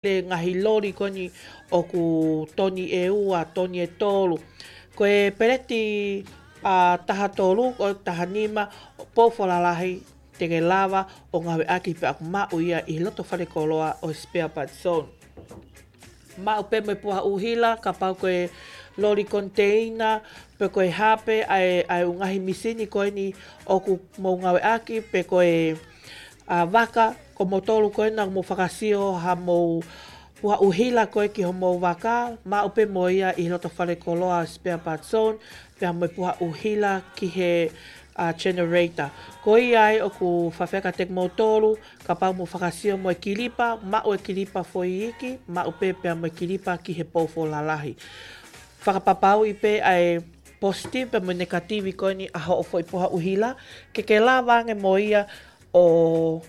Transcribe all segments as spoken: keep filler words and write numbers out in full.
le ngaahi loli ko eni ʻoku toni ʻe ua, toni ʻe tolu. Ko e peleti ʻa taha tolu, ʻo taha nima, pou foʻou lalahi, te ke lava ʻo ngāueʻaki pea ʻoku maʻu ia ʻi he loto fale koloa ʻo Spare Parts Zone. Maʻu pē mo e puha ʻuhila, kapau ko e loli koniteina, pe ko e hā pē ʻa e, ʻa e ʻū ngaahi misini ko eni ʻoku mou ngāueʻaki, pe ko e ʻa vaka, ko moutolu ko ena ʻoku mou fakasio haʻamou puha ʻuhila ko ē ki homou vaka, maʻu pē mo ia ʻi he loto fale koloa Spare Parts Zone, pea mo e puha ʻuhila ki he ʻa generator. Ko ia ai ʻoku faifai kiate kimoutolu, kapau mou fakasio mo e kilipa, maʻu e kilipa foʻi iiki, maʻu pē pea mo e kilipa ki he pou foʻou lalahi. Fakapapauʻi pē ʻa e positive pea mo e negative ko eni ʻa hoʻo foʻi puha ʻuhila, ke ke lava ange mo ia ʻo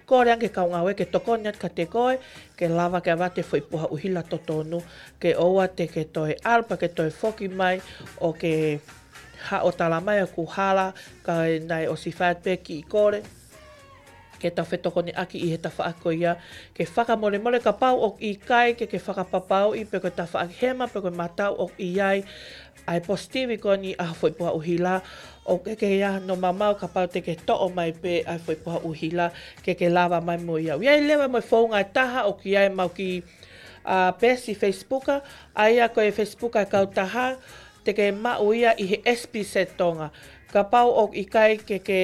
kole ange ki he kau ngāue ke tokoni atu kiate koe, ke lava ke ʻavate foʻi puha ʻuhila totonu, ke ʻoua te ke toe ʻalu pea ke toe foki mai ʻo ke haʻo tala mai ʻoku hala, ka naʻe ʻosi fai atu pē kiʻi kole ke tau fetokoniʻaki ʻi he tafaʻaki ko ia, ke fakamolemole kapau ʻoku ʻikai ke ke fakapapauʻi pe ko e tafaʻaki hema pe ko e matau ʻoku ʻi ai ʻa e positive ko eni ʻa e foʻi puha ʻuhila, ʻoku ʻikai ke ʻi ai hano mamau kapau te ke toʻo mai pē ʻa e foʻi puha ʻuhila ke ke lava mai mo ia. ʻOku ʻi ai leva mo e founga ʻe taha ʻoku ʻi ai ʻemau kiʻi ʻa peesi Facebook, ʻa ia ko e Facebook ʻa e kautaha, te ke maʻu ia ʻi he S P C Tonga. Kapau ʻoku ʻikai ke ke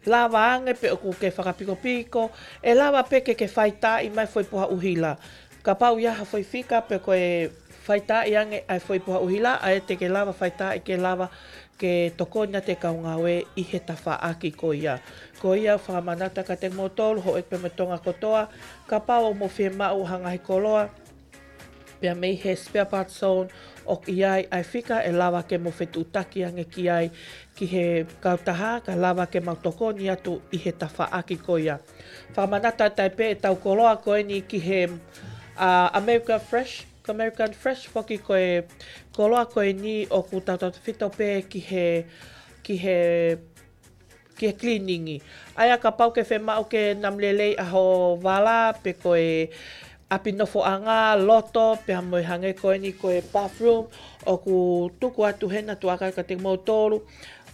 lava ange pe ʻoku ke fakapikopiko, ʻe lava pē ke ke faitaaʻi mai foʻi puha ʻuhila. Kapau ʻi ai ha foʻi fika pe ko e faitaaʻi ange ʻa e foʻi puha ʻuhila, ʻa ia te ke lava faitaaʻi ke lava ke tokoni atu e kau ngāue ʻi he tafaʻaki ko ia. Ko ia fakamanatu kiate kimoutolu, houʻeiki pea mo Tonga kotoa, kapau ʻoku mou fiemaʻu ha ngaahi koloa pea mei he Spare Parts Zone, ʻoku ʻi ai ʻa e fika ʻe lava ke mou fetuʻutaki ange ki ai ki he kautaha, kae lava ke mau tokoni atu ʻi he tafaʻaki ko ia. Fakamanatu atu ai pē ʻetau koloa ko eni ki he ʻa American Fresh, ko American Fresh foki ko e koloa ko eni ʻoku tautautefito pē ki he, ki he ki he cleaning. ʻA ia kapau ʻoku ke fiemaʻu ke namu lelei ʻa ho vala, pe ko e ʻapi nofoʻanga, loto, pea mo e hangē ko eni ko e bathroom, ʻoku tuku atu hena tuʻa ʻaki kiate kimoutolu,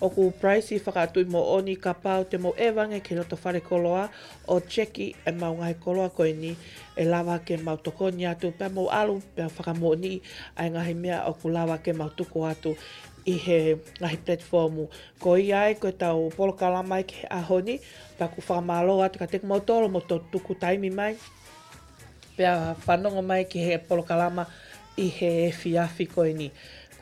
ʻoku price fakatuʻi moʻoni kapau te mou ʻeva ange ki he loto fale koloa, ʻo checki ʻemau ngaahi koloa ko eni, ʻe lava ke mau tokoni atu, pea mou ʻalu, pea fakamoʻoniʻi ʻa e ngaahi meʻa ʻoku lava ke mau tuku atu ʻi he ngaahi platform. Ko ia ai ko ʻetau polokalama ʻi he ʻaho ni, pea ʻoku fakamālō atu kiate kimoutolu hoʻomou tuku taimi mai, pea fanongo mai ki he polokalama ʻi he efiafi ko eni.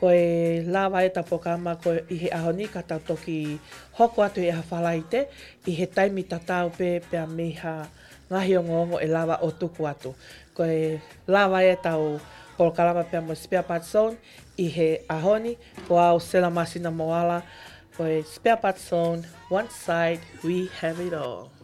Ko e lava ʻetau polokalama ko ē ʻi he ʻaho ni ka tau toki hoko atu ʻi he ʻaho Falaite, ʻi he taimi tatau pē pea mei ha ngaahi ongoongo ʻe lava ʻo tuku atu. Ko e lava ʻetau polokalama pea mo Spare Parts Zone ʻi he ʻaho ni, ko au Sela Masina Moala, ko e Spare Parts Zone, one side, we have it all.